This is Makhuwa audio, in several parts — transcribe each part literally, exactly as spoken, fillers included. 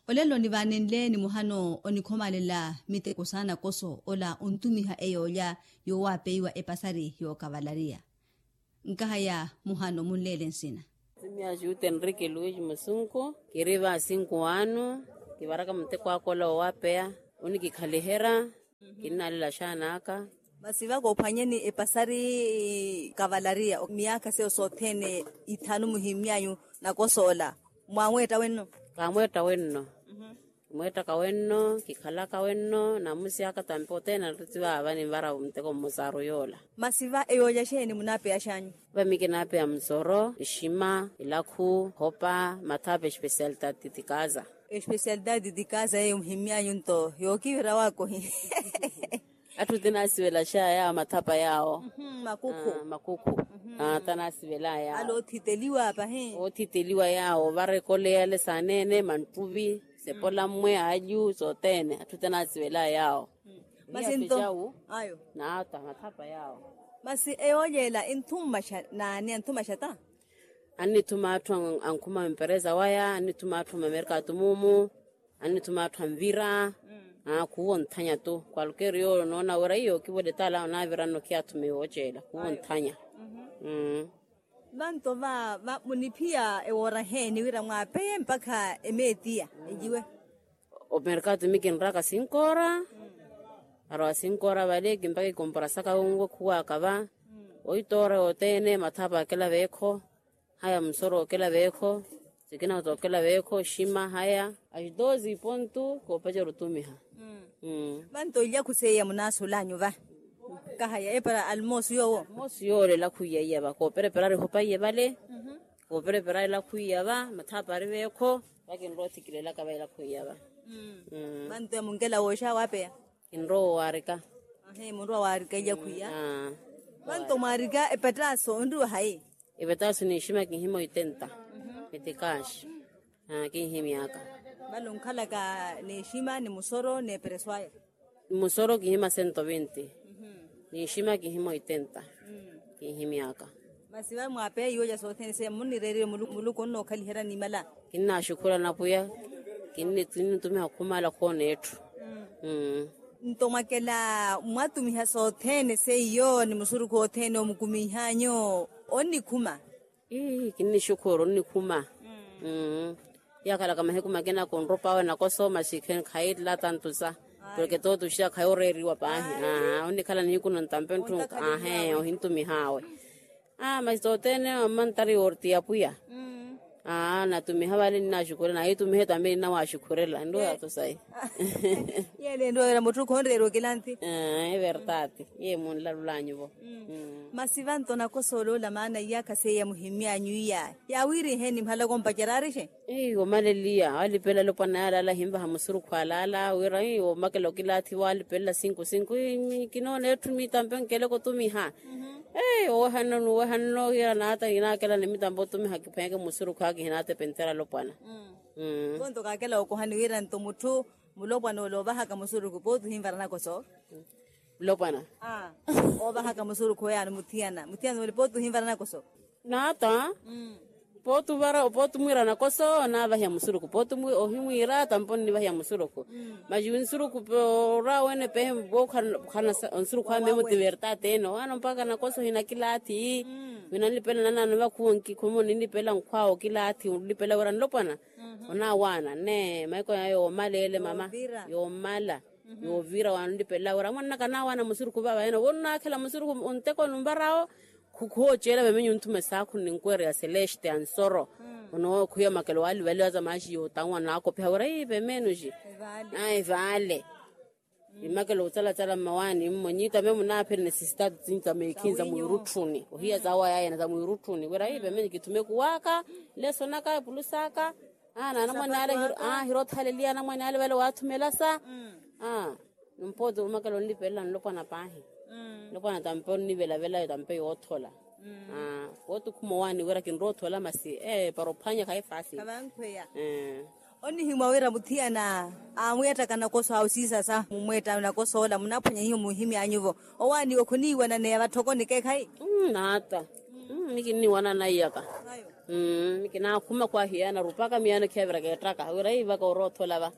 Olelo nivaanenle ni muhano onikhomalela miteko saana koso ola ontumiha eyoolya yoowapeiwa epasari yookavalariya. Nkahaya muhano munleele nsina. Simyaxi uti enrique luis musunku. Kiri va sinku anu kivaraka muteko aka ola woowapeya. Onikikhalihera. Kinnaalela xaana aka. Masi va koophwanyeni epasari kavalariya miyaakha seyo sothene ithanu muhimmyanyu nakosoola. Mwamweetta wenno? Kaamweetta wenno. Kimweettaka wenno kikhalaka wenno namusi aka tampi othene anattitti vaava ninvara muteko mmosaru yoola. Masi va eyoolya xeeni munaapeya xanyu? Va mikinaapeya musoro exima elakhu hopa mathapa especialidade de casa. Especialidade de casa eyo muhimmyanyu nto yookivira waakohi. Atthu tinaasivela xaya yaawo mathapa yaawo. Makukhu. Makukhu. Tanaasivela yaawo. Ala oothiteliwa pahi. Oothiteliwa yaawo varekoleya ale saaneene manttuvi sepola mmwe alyu sothene atthu tanaasivela yaawo. Masi nto ayo naata mathapa yaawo. Masi eyoolyeela enthumaxa naani anthumaxa ta? Annithuma atthu ankhuma mpereza waya annithuma atthu mamerkatu muumu. Annithuma atthu anvira. Khuuwa onthanya tu kwalkeeri yoole onoona wira iyo okivole taala onaaviranno khiyathume yooceela khuuwa onthanya. Vanto va va muniphiya ewoora heeni wira mwaapeye mpakha emeetiya eyiwe? Omerkatu mikinraka sinkoora. Arowa sinkoora vale kimpaka ikomporasaka wunwe khuwaaka va. Oitoora yothene mathapa akela veekho. Haya musoro okela veekho. Sikina tookela veekho shima haya. As doze pontu koopacerya otumiha. Vanto ilya khuseiya munaasulanyu va? Kahaya epara almosu yoowo. Almosu yoolela khwiya iya va kooperepera ari hopa iye vale. Kooperepera ela khwiya va mathapa ari veekho. Vakinrowa othikilelaka va ela khwiya va. Vanto yamunkela wooxa waapeya? Kinrowa waarika. Munrowa waarika ilya khwiya. Vanto mwaarika epetaaso onriwa hayi? Epetaaso n'exima kinhima oitenta. Metikaaxi. Kinhimyaka. Vale onkhalaka n'exima ni musoro n'epereso aya? Musoro kinhima sento vinti. N'exima kinhima oitenta. Kinhimyaka. Masi vale mwaapeya iwolya sothene seya munnireererye muluku onnookhaliherya nimala. Kinnaaxukhurela napwiya. Kinnitumiha okhumala khoona etthu. Nto mwakela mwatumiha sothene seiyo ni musurukhu othene omukumiih'anyu onnikhuma? Ii kinnixukhuru onnikhuma. Yakhalaka mahiku makina kunrup'awe nakoso masi khayi lata ntusa. Porke tootuxiya khayi oreeriwa paahi. Onnikhala nihiku nontampe ntthunka. Ahe ohintumih'awe. Masi tothene mantari yoorti ya pwiya. Natumiha vale ninaxukhurela naye itumihe tambi ninawaxukhurela nruwa yathu sayi. Yele nruwa wira mutthu khonreeriwa kilanthi. Everdade. Ye munlalulanyu vo. Masi vanto nakosoola ola maana iyakha seiya muhimmyanyu iya yaawiiriheeni mhalaka ompacerya arixe? Iwo maleliya walipela alopwana yale ala ahinvaha musurukhu alaala wira iwo makela okilaathiwa alipelela sinku sinku kinoona etthu mitampe nkeleke otumiha. Owehanno nuwehanno hiira naata hinaakela ni mitampe otumiha kiphweke musurukhu aka hinaatepentera alopwana. Vonto kaakela okohani wira nto mutthu mulopwana ole ovahaka musurukhu pooti ohinvara nakoso. Mulopwana ovahaka musurukhu oyaano muthiyana muthiyana ole pooti ohinvara nakoso. Naata pooti ovara pooti omwiira nakoso onaavahiya musurukhu pooti ohimwiira tampo onnivahiya musurukhu. Masi nsurukhu orwa wene pehe nsurukhu ame muti verdade ene owaana mpakha nakoso hinakilaathi. Winanlipela nanaano vakhuwa nkikhuma oninlipela nkhwaawe okilaathi onlipela wira nlopwana. Onaawaana nne maiko yaya yoomala ele mama yoomala. Yoovira wanlipelela wira mwananaka naawaana musurukhu vava ene owo nnaakhela musurukhu onteko numvarawo. Khooceela vemenye onthume saakhu ninkwereya celeste ansoro. Onookhwiya makelo waalivaliwa za maaxi yootanwa naakopiha wira ii vemenuxi. Ayi vaale. Imakelo otsalatsala mmawaani mmo nyiitame munaaphiri necessitado tsinitame ekhinza mwiirutthuni ohiya zawayayana za mwiirutthuni wira iipe menye kithume kuwaaka. Leso naka epulusa aka. Naana mwane ale hiroothaleliya anamwane ale vale waathumelasa. Nimpooti omakelo onlipelela nlopwana paahi. Nlopwana tampe onnivelavela tampe yoothola. Wootukhuma owaani wira kinroothola masi para ophwanya khayi faasi. Onnihimwa wira muthiyana aamweettaka nakoso awo siisasa mumweetta nakoso ola munaaphwanya hiyo muhimy'anyu-vo? Owaaniwe khuniiwananeya vatthoko nikeekhayi. Naata. Nikinniwanana iyaka. Mmm kinaakhuma khwahiyana rupaka miyaano khiyavira keettaka wira ivaka oroothola va.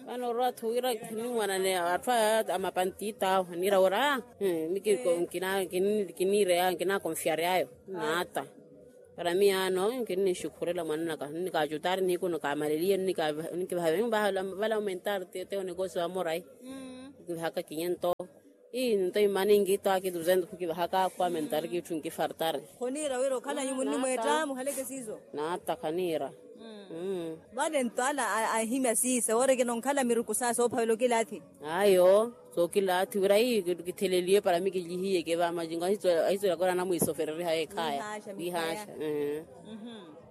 Vano orwa atthu wira khinimwanane atthu aya a mapantiita awo aniira wira mmm kiniireya nkinaakonfyaryayo. Naata para miyaano nkinixukhurela mwananaka nnikacutaari nihiku nikamaleliye nnikivaha vala aumentar teyo nekosi wa morai. Nkivahaka kinyento ii nto imani nkito akituze ntukhu kivahaka akhu aumentar kitthu nkifartari. Khoniira wira okhalanyu munnimweetta muhaleke siiso. Naata khaniira. Vale nto ala ahimya siisa woori kinonkhala miruku saa soophavela okilaathi. Ayo sookilaathi wira ii kitheleliye para mikilihiyeke va macingo ahisuwela kora anamwiisofererihaye ekhaya. Wihaaxa.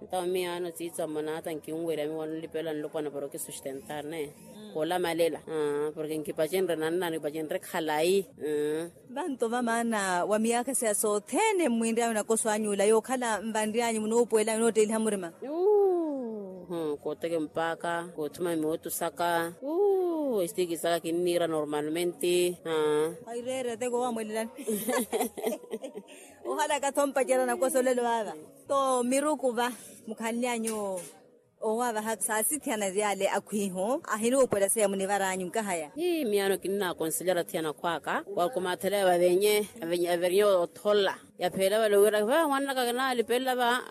Ntawo miyaano siitsa mmonaata nkinwerya miwa nlipela nlopwana para okisustentar ne. Koolamalela porke nkipacenre nanna nipacenre khalayi. Vanto vamaana wa miyaakha siya sothene mmwinry'anyu nakoso anyu ula yookhala nvanry'anyu munoopuwel'anyu nootteeliha murima. Kooteke mpaaka koothuma miwottu saka. Estikisaka kinniira normalmente. Aireere teko wamwelelani. Ohalaka tho mpacerya nakoso olelo vaava. To miruku va mukhanly'anyu owaavaha saasithiyana vyale akhwiihu ahinuupwela seiya munivar'anyu nkahaya. Hii miyaano kinnaakonselera athiyana akhw'aka wakumaathelaya vavenye averinye othola. Yapheela vale wira va mwananaka kinalipelela va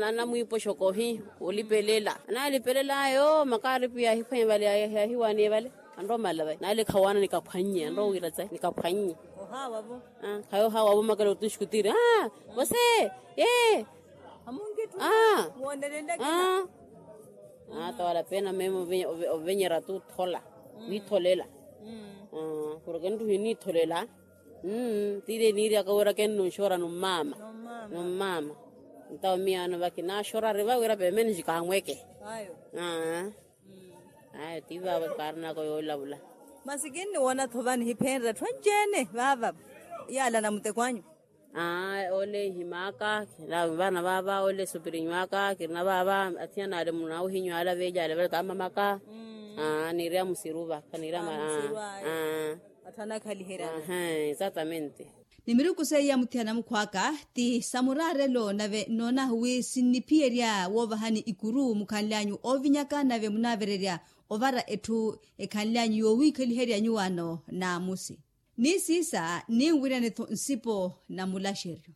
anamwiipoxokohi olipelela analipelela ayo makaaripi yaahiphwanye vale yaahiwaaniye vale. Anrowa omala vai nali khawaana nikaphwannye anrowa owira tsayi nikaphwannye. Khayo ohaawa vo makela otuxkutiri aa vose ee. Aa ata wala pena meme ovenyerya tu thola. Witholela porke nruhi nitholela. Tiile niiryaka wira kennunxora nummaama. Nummaama ntawo miyaano vakinaxorari va wira pemene xikanweke. Ayo tii vaavo kaarinaka yoolavula. Masi kinniwona-tho va nihiphenrya atthu anci-ene vaava. Yaala na muteko anyu. Ole nhim'aka vaana vaava ole supirinyu aka kirina vaava. Athiyana ale munaawihinyu ale aveeli ale vale taamamaka. Niirya musiru va khaniirya. Atthu anakhaliheryana. Exatamente. Ni miruku seiya muthiyana mukhw'aka ti sa muraarelo nave nnoonahu wi sinniphiyerya woovahani ikuru mukhanly'anyu oovinyaka nave munaavererya ovara etthu ekhanly'anyu yoowiikhaliherya nyuwaano. Naamusi ni siisa ninwiryanetho nsipo na mulaxeryo.